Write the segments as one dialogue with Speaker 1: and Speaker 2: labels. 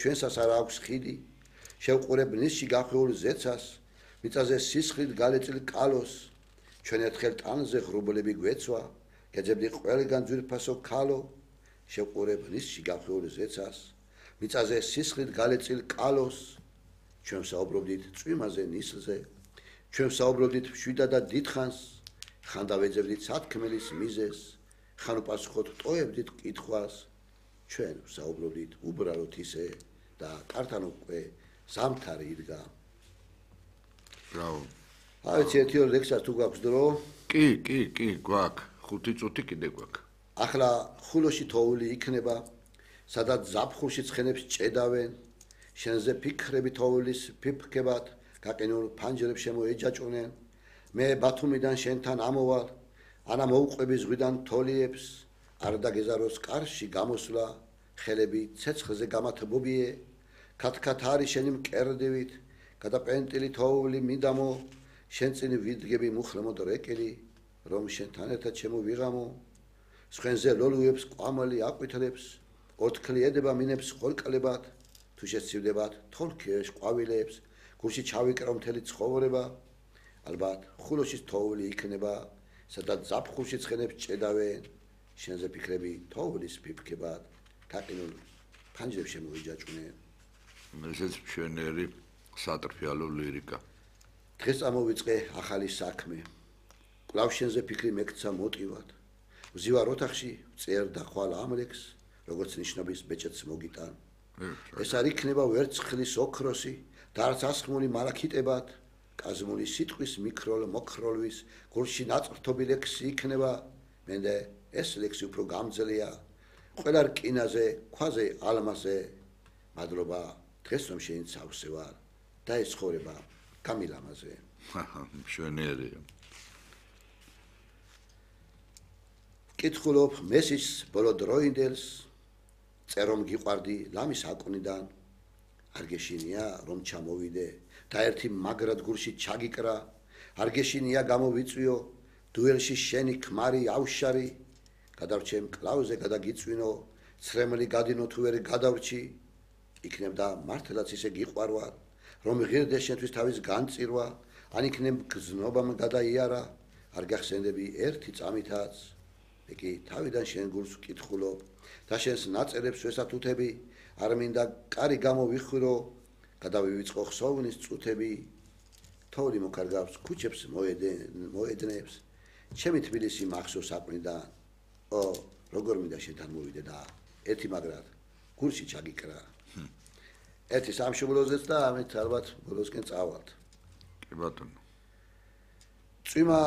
Speaker 1: ჩვენსაც არ აქვს ხიდი შევყურებ ნისში გახვეულ ზეცას მიწაზე სისხლით გალეწილ კალოს ჩვენ ერთხელ ტანზე ღრუბლები გვეცვა გეძებდი ყველგან ძვირფასო ქალო შევყურებ ნისში გახვეულ ზეცას მიწაზე სისხლით გალეწილ კალოს ჩვენ საუბრობდით წვიმაზე ნისლზე ჩვენ საუბრობდით მშვიდად და დიდხანს ხან დავეძებდით სათქმელის მიზეს ხან უპასუხოთ ტოებდით კითხვას ჩვენ საუბრობდით უბრალოდ ისე და კართან უკვე ზამთარი იდგა.
Speaker 2: Bravo.
Speaker 1: Aveți etiol lexas tu გვაქვს დრო?
Speaker 2: კი, გვაქვს. 5 წუთი კიდე გვაქვს.
Speaker 1: ახლა ხულოში თოული იქნება, სადაც ზაფხულში ცხენებს ჭედავენ, შენზე ფიქრები თოვლის ფიფქებად, გაყინულ ფანჯრებს შემოეჯაჭვნენ. მე ბათუმიდან შენთან ამოვალ, ანა მოუყვები ზღვიდან თოლიებს, არ დაგეზაროს კარში გამოსვლა, ხელები ცეცხლზე გამათბობიე, ქათქათ არის შენი მკერდივით, გადაპენტილი თოვლი მიდამო, შენ წინ ვიდგები მუხრემოდ რეკილი, რომ შენთან ერთად შემოვიღამო, სხვენზე ლოლუებს ყვამალი აყვითლებს, ორთქლი ედება მინებს ხორკალებად, თუ შეცივდებათ თოლქიეშ ყვავილებს, გულში ჩავიკრო მთელი ცხოვრება, ალბათ ხულოშის თოვლი იქნება, სადაც ზაფხულში ცხენებს ჭედავენ, შენზე ფიქრები თოვლის ფიფქებად, გაყინულ ფანჯრებს შემოიჯაჭვნენ.
Speaker 2: ესეც მშვენიერი სატრფიალო ლირიკა.
Speaker 1: დღეს წამოვიწყე ახალი საქმე. კვლავ შენზე ფიქრი მეკცა მოტივად. ვზივარ ოთახში, წერ და ხვალ ამლექს, როგორც ნიშნობის ბეჭედს მოგიტან. ეს არ იქნება ვერცხლის ოქროსი, და არც ასხმული მალაქიტებად, კაზმული სიტყვის მიქროლ მოქროლვის, გულში ნაწყრთობი ლექსი იქნება, მენდე ეს ლექსი უფრო გამძლეა, ყველა რკინაზე, ქვაზე, ალმასზე, მადლობა, დღეს რომ შეინცავსე ვარ, და ეს ცხოვრება გამილამაზე.
Speaker 2: მშვენიერია.
Speaker 1: კითხულობ მესის ბოლო დროინდელს, წერ რომ გიყვარდი ლამის აკვნიდან, არ გეშინია რომ ჩამოვიდე და ერთი მაგრად გულში ჩაგიკრა, არ გეშინია გამოვიწვიო, დუელში შენი ქმარი ავშარი, გადავრჩე მკლავზე გადაგიწვინო, ცრემლი გადინო თუ ვერ გადავრჩი, იქნებდა მართლაც ისე გიყვარვარ, რომ ღირდე შენთვის თავის განწირვა, ან იქნებ გზნობამ გადაიარა, არ გახსენდები ერთი წამითაც, მე კი თავიდან შენ გულს ვკითხულობ და შენს ნაწერებს ვესათუთები, არ მინდა კარი გამოვიხურო, გადავივიწყო ხსოვნის წუთები, თოვლი მოკარგავს ქუჩებს მოედნებს, ჩემი თბილისი მახსოვს საყვნიდან, როგორ მინდა შენთან მოვიდე და ერთი მაგრად გულში ჩაგიკრა. ერთი სამშობლოზეც და ამით ალბათ ბოლოსკენ წავალთ.
Speaker 2: კი ბატონო.
Speaker 1: წვიმა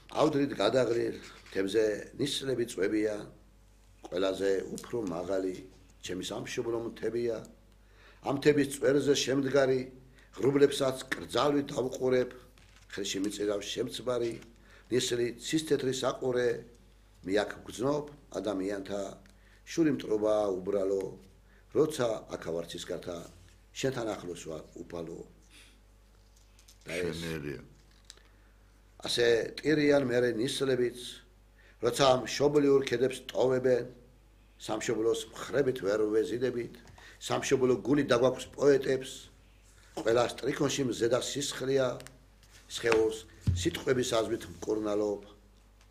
Speaker 1: ავდრით გადაღრილ, თებზე ნისლები წვებია, ყველაზე უფრო მაღალი ჩემი სამშობლო მთებია, ამ მთების წვერზე შემდგარი, ღრუბლებსაც კრძალვით დავყურებ, ხელში მიწირავს შემწბარი, ნისლი ცისთეთრი საყურე, მე აქ გრძნობ ადამიანთა, შური მტრობა უბრალო, როცა აქავარცის გართა, შენთან ახლოს ვარ უფალო.
Speaker 2: მშვენიერია.
Speaker 1: ასე ტირიან მერე ნისლებიც, როცა მშობლიურ ქედებს ტოვებენ, სამშობლოს მხრებით ვერ ვეზიდებით, სამშობლო გული დაგვაქვს პოეტებს, ყველა სტრიქონში მზედა სისხლია, სხეულს სიტყვების აზრით მკურნალობ,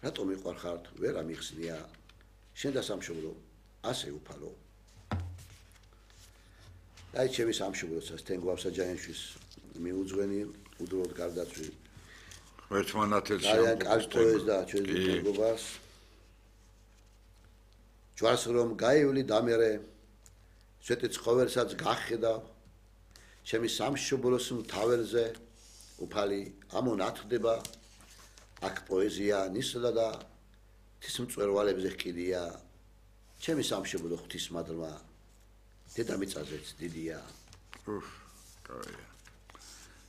Speaker 1: რატომ მიყვარხართ ვერ ამიხსნია, შენ და სამშობლო ასე უფალო. აი ჩემი სამშობლოსაც თენგვავსა ჯაიანშვის მიუძღვენი უდროდ გარდაცვლი.
Speaker 2: ერთმანეთს
Speaker 1: ძალიან კარგი ტოვეს და ჩვენი მეგობარს. ჯვარს რომ გაივლი დამერე, სვეტი ცხოველსაც გახედავ, ჩემი სამშობლოს მთავერზე, უფალი ამონათდება, აქ პოეზია ნისლა და თის მწვერვალებზე ჰკიდია, ჩემი სამშობლო ღვთისმადლმა, დედამიწაზეც დიდია.
Speaker 2: კაია.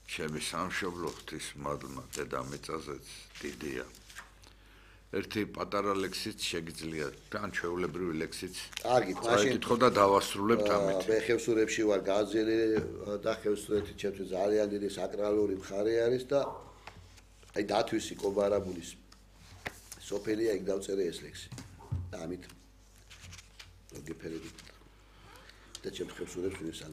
Speaker 2: ჩემი სამშობლო ღვთისმადლმა, დედამიწაზეც დიდია. ერთი პატარა ლექსიც შეგიძლია, თან ჩვეულებრივი ლექსიც.
Speaker 1: კარგით, მაშინ
Speaker 2: კითხო და დავასრულებთ ამით.
Speaker 1: მე ხევსურებში ვარ გაძელი და ხევსურეთი ჩემთვის ძალიან დიდი საკრალური მხარე არის და აი დათვისი კობარაბულის სოფელია, იქ დავწერე ეს ლექსი. და ამით გეფერებით და ჩემს ხევსურებს ვინესალმე.